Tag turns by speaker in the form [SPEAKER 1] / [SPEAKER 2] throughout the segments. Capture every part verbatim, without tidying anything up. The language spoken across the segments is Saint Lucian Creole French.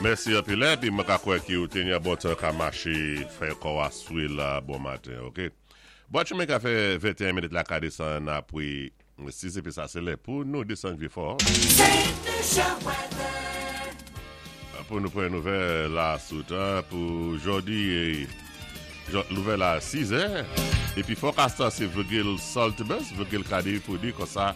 [SPEAKER 1] Mèsi anpil épi mwen ka kwè ki ou té ni bon tan ka maché fè kò a swi la bon maten, OK? Bon, chemen ka fè venteyen minit la ka désann apwé sis épi sa sé lè pou nou désann Vieux-Fort. Pou nou pran nouvèl la sou tan pou jòdi, nouvèl a sis è. Épi forecast sé Virgil Saltibus, Virgil ka di pou di konsa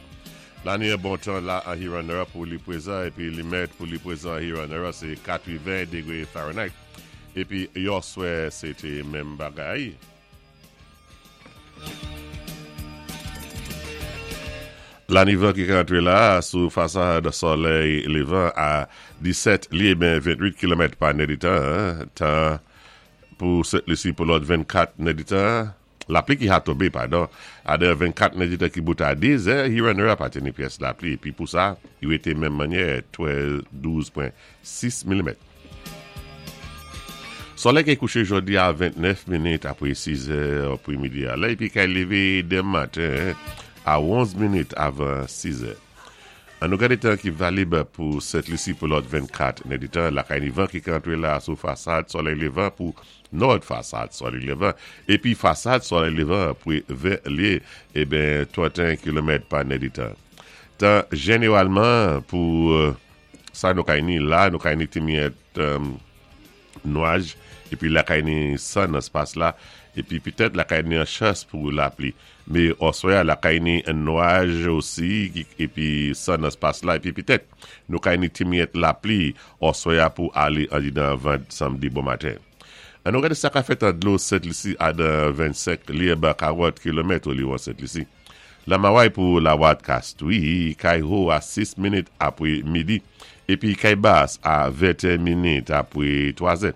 [SPEAKER 1] la ni bon tan la an Huron pou li pwézan épi li mèt pou li pwézan Huron sé katèven dégwé Fahrenheit. Épi yèswè sé té menm bagay. La ni van ki rantré la sou fasad solèy lévan a disèt lyé ben ventwit kilomèt pa nèditan, tan pou Sent Lisi pou lòt vennkat nèditan. Lapli ki ka tonbé, padon, a de vennkat nèditan ki bout a dis, Huron pa té ni pyès lapli. Épi pou sa, yo été menm mannyè douz pwen sis milimèt. Solèy ki kouché jòdi a ventnèf minit apwé sis è apwé midi a la, épi kay lévé denmen maten a onz minit avan sis è. An nou gadé tan ki valib pou Sent Lisi pou lòt vennkat nèditan, lakay ni van ki rantré la sou fasad solèy lévan pou nò fasad solèy lévan, épi fasad solèy lévan pou ven lyé, eben tranteyen kilomèt pa nèditan. Tan jénéwalman pou sa nou kay ni la, nou kay ni ti miyèt nwaj, épi lakay ni san nan spas la, épi pitèt lakay ni an chans pou lapli. Mé oswè lakay ni nwaj osi, épi san nan spas la, épi pitèt nou kay ni ti miyèt lapli oswè pou alé andidan vant samdi bon maten. An nou gadé sa ka fèt an dlo Sent Lisi a dan vennsenk lyé karant kilomèt oliwon Sent Lisi. Lamaway pou Lawat Kastwi, kay ho a sis minit apwé midi, épi kay bas a venteyen minit apwé twa zè.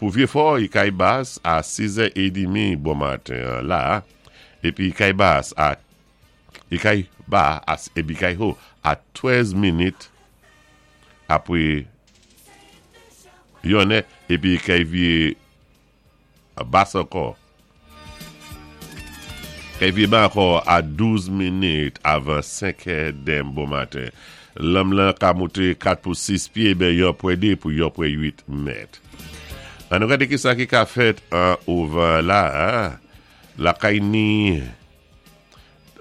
[SPEAKER 1] Pou Vieux-Fort, kay bas a sis è édmi bon maten la, épi kay bas a kay ba épi kay ho a trèz minit apwé yonnè, épi kay viwé bas ankò. Kay viwé ba ankò a douz minit avan senk è denmen bon maten. Lanm lan ka mouté kat pou sis pyé, ben yon pwen dé pou yon pwen wit mèt. An nou gadé ki sa ki ka fèt an ouvan la, lakay ni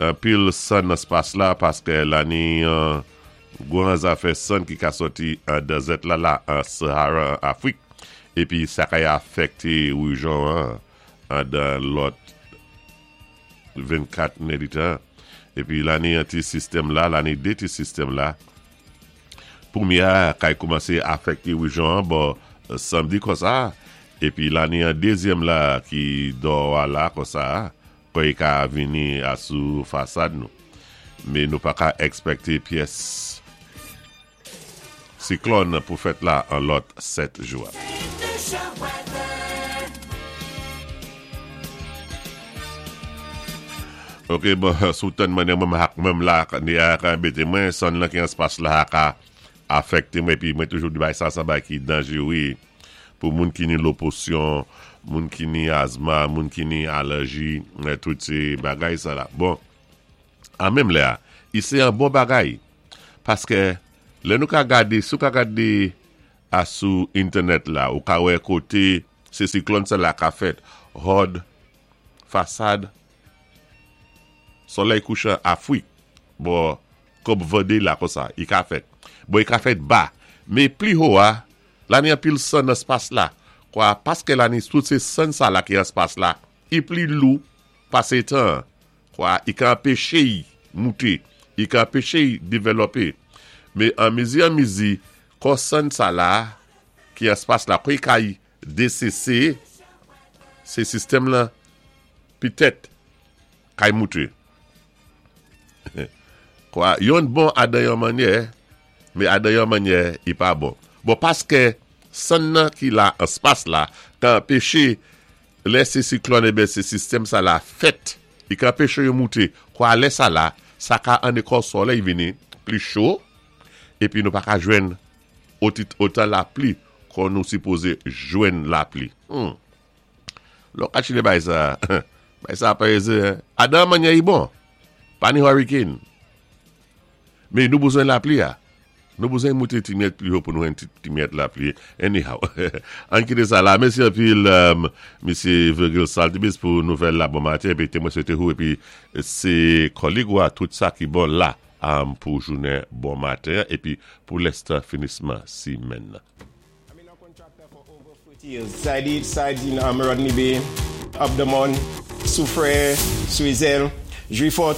[SPEAKER 1] anpil san nan spas la paské la ni gwan zafè san ki ka sòti an dezèt la la an Sahara an Afrik épi sa kay afèkté wéjyon an an dan lòt vennkat nèditan. Épi la ni an ti sistèm la, la ni dé ti sistèm la. Pwémyé a kay koumansé afèkté wéjyon an bò samdi konsa épi la ni an dézyèm la ki dò a la konsa kòy ka vini a sou fasad nou. Mé nou pa ka èkspèkté pyès siklòn pou fèt la an lòt sèt jou. OK, bon, sou tan mwen mwen mwen la ni a ka anbété mwen, san lan ki an spas la ka afèkté mwen, épi mwen toujou di bay sa sa bay ki danjé wi pou moun ki ni loposyon, moun ki ni azma, moun ki ni alèji, tout sé bagay sa la. Bon, an menm lè a, i sé an bon bagay paské lè nou ka gadé, sou ka gadé a sou entènèt la, ou ka wè koté sé siklòn sa la ka fèt, hòd fasad solèy kouchan Afwik, bon, kòm Vendée la konsa, i ka fèt. Bon, i ka fèt ba, mé pli ho a, la ni anpil san nan spas la, kwa, paské la ni tout sé san sa la ki an spas la, i pli lou pasé tan, kwa, i ka anpéché y mouté, i ka anpéché y dévlopé. Mé an mizi an mizi, kon san sa la, ki an spas la, kwa i ka y D C C, sé sistèm la, pitèt, kay mouté. Kwa, yon bon adan yon mannyè, mé adan yon mannyè, i pa bon. Bon, paské san nan ki la an spas la, ka anpéché lè sé siklòn eben sé sistèm sa la fèt, i ka anpéché yo mouté. Kwa lè sa la, sa ka anné kò solèy vini pli cho, épi nou pa ka jwenn otan lapli kon nou sipozé jwenn lapli. Hmm. Lò ka chile bay sa, bay sa pa ézé, adan mannyè i bon, pa ni hurricane. Mé nou bezwen lapli a. Nou bezwen mouté ti myèt pli wo pou nou jwenn ti, ti myèt lapli. Anyhow, ann kité sa la. Mèsi anpil, um, Misyé Virgil Saltibus pou nouvèl la bon maten. Épi té mwen swété ou épi sé kòlèg ou tout sa ki bon la um, pou jounen bon maten épi pou lèstan finisman simèn.
[SPEAKER 2] I've been a contractor for over forty years. Side it, side in um, Rodney Bay, up the Mon, Soufrière, Swizel, Juifot.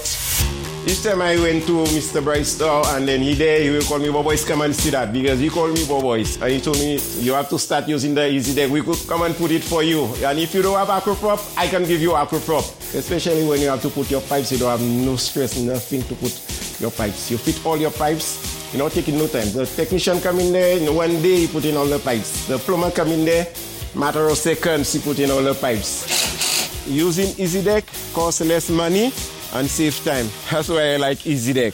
[SPEAKER 2] Each time I went to Mister Bryce store and then he there, he will call me, "Boys, come and see that," because he called me Boys. And he told me, "You have to start using the Easy Deck. We could come and put it for you. And if you don't have Acroprop, I can give you Acroprop." Especially when you have to put your pipes, you don't have no stress, nothing to put your pipes. You fit all your pipes, you know, taking no time. The technician come in there, in one day he put in all the pipes. The plumber come in there, matter of seconds he put in all the pipes. Using Easy Deck costs less money and save time. That's why I like Easy Deck.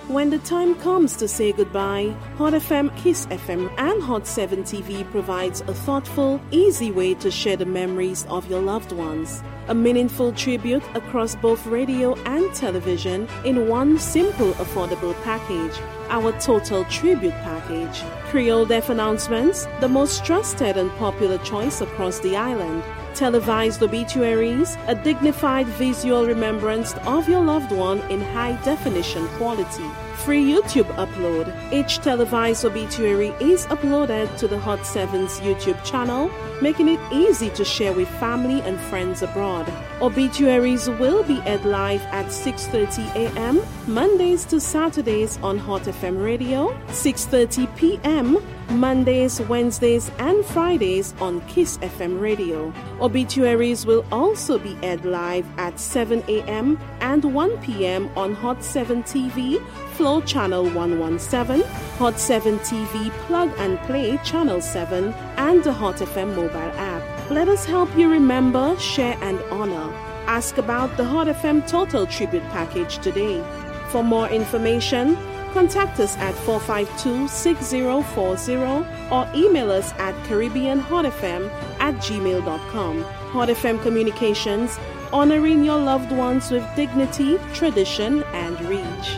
[SPEAKER 3] When the time comes to say goodbye, Hot F M, Kiss F M, and Hot seven T V provides a thoughtful, easy way to share the memories of your loved ones. A meaningful tribute across both radio and television in one simple, affordable package. Our Total Tribute Package. Creole Death Announcements, the most trusted and popular choice across the island. Televised obituaries, a dignified visual remembrance of your loved one in high definition quality. Free YouTube upload. Each televised obituary is uploaded to the Hot seven's YouTube channel, making it easy to share with family and friends abroad. Obituaries will be aired live at six thirty a m. Mondays to Saturdays on Hot F M Radio, six thirty p m. Mondays, Wednesdays, and Fridays on Kiss F M Radio. Obituaries will also be aired live at seven a m and one p m on Hot seven T V, Flow Channel one one seven, Hot seven T V Plug and Play Channel seven, and the Hot F M mobile app. Let us help you remember, share, and honor. Ask about the Hot F M Total Tribute Package today. For more information, contact us at four five two, six zero four zero or email us at caribbeanhotfm at gmail dot com. Hot F M Communications, honoring your loved ones with dignity, tradition, and reach.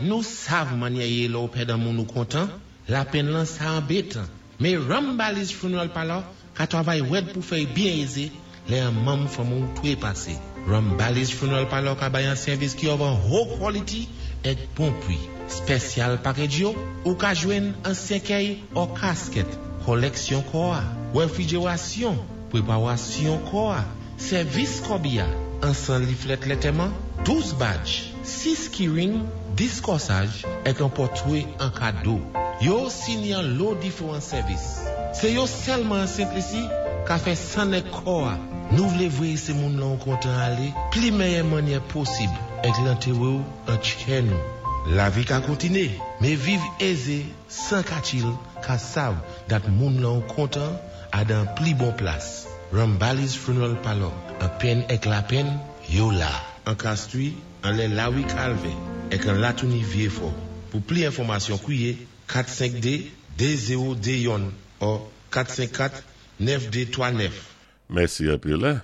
[SPEAKER 4] Nou sav mannyè yé lè ou pèd an moun ou kontan, lapenn lan sa anbétan. Mé Rambali's Funeral Parlor ka twavay wèd pou fè byen ézé lè an manm fanmi ou twé pasé. Rambali's Funeral Parlor ka bay an sèvis ki of an wo quality èk bon pwi. Special package yo, ou ka jwenn an sèkèy ou casket, koleksyon kò a, refrijerasyon, pweparasyon kò a, sèvis kòbiya, an san leaflet lantèman, douz badge, sis keyring, dis kòsaj, èk an pòtwé an kado. Yo sini an lo diferan sèvis. Sé yo sèlman an Sent Lisi ka fè sann èk kò a. Nou vlé voyé sé moun lan ou kontan alé, pli mèyè mannyè posib, èk lantéwé ou an tchè nou. Lavi ka kontiné, mé viv ézé, san katchil, ka sav dat moun lan ou kontan adan pli bon plas. Rambali's Funeral Parlor, an penn èk lapenn, yo la. An Castries, anlè Lawi Calvin, èk an Latouni Vieux-Fort. Pou pli enfòmasyon kwiyé kat senk de de zewo de youn ou kat senk kat nèf de twa nèf.
[SPEAKER 1] Mèsi anpil. Hein?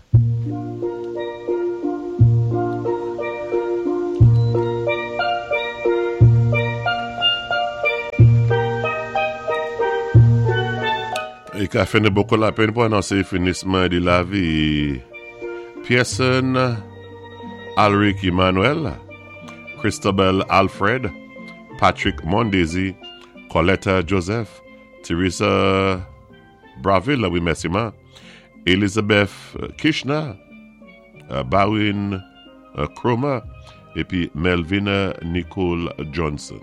[SPEAKER 1] É ka fè nou bokou lapenn pou anonsé finisman di lavi Pearson Alric Emmanuel, Christabel Alfred, Patrick Mondesi, Coletta Joseph, Teresa Braville, wi mèsi ma, Elizabeth Kishna, euh, Barwin euh, Cromer, épi Melvina Nicole Johnson.